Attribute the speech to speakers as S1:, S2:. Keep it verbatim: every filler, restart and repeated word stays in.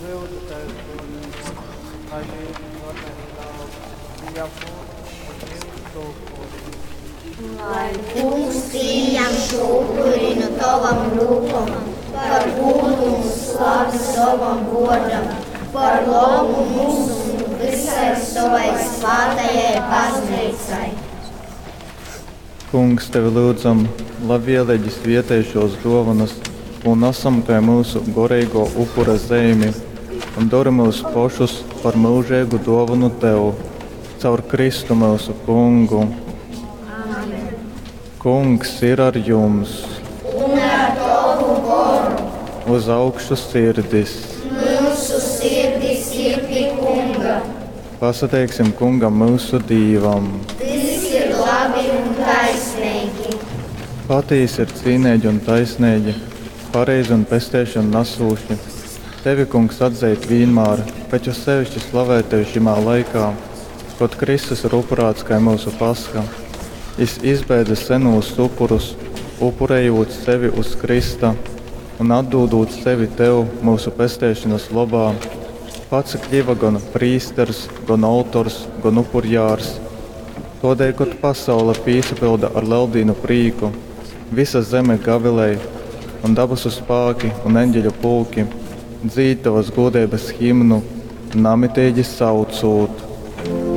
S1: Lyudzu tevi, Kungs, lai mūsu varētu būt mūsu upuri.
S2: Lai Kungs pieņem šo upuri no tavam rūkom, par gūdu un slavi savam vārdam, par labu mums un visai savai svētajai baznīcai.
S3: Kungs, tevi lūdzam, labvēlīgi svietej šos dovanas un nesam kai mūsu goreigo upura zeimi un dori mūs pošus par mūžīgu dovanu tev, caur Kristu mūsu kungu.
S2: Amen.
S3: Kungs ir ar jums!
S2: Un ar tavu goru.
S3: Uz augšu sirdis!
S2: Mūsu sirdis ir pie Kunga.
S3: Pasateiksim Kungam mūsu Dīvam!
S2: Tas ir labi un taisnīgi.
S3: Patīsi ir cīnīgi un taisnīgi, pareizi un pesteišanu nesūši. Tevi, Kungs, atzīt vienmēr, bet jo sevišķi slavēt tevi šimā laikā, kad Kristus ir upurāts kā mūsu pasha. Jis izbeidza senūs upurus, upurējot sevi uz Krista un atdūdot sevi tev mūsu pesteišanas labā. Pats kļiva gan prīsters, gan autors, gan upurjārs. Todēļ, kad pasaule pīsapilda ar leldīnu prīku, visa zeme gavilēja, un dabasu spāki un eņģeļu pulki dzīd tavas godības himnu, namitīgi saucot.